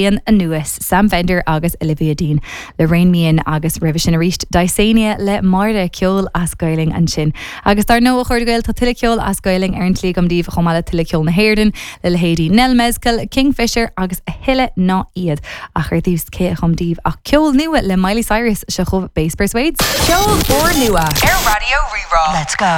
Bliain anuas, Sam Fender agus Olivia Dean le Rein Me In agus roimhe sin arís Dysania le Máire, ceol as Gaelainn ansin. Agus dar ndóigh, a chairde Gael, tá tuilleadh ceoil as Gaelainn ar an tslí agam daoibh chomh maith le tuilleadh ceol na hÉireann le leithéidí Nell Mezcal, Kingfisher agus a thuilleadh ná iad. Ach ar dtús, cé a chum daoibh ach ceol nua le Miley Cyrus, seo chugaibh Bass Persuades. Ceol úrnua ar Raidió Rí-Rá. Let's go.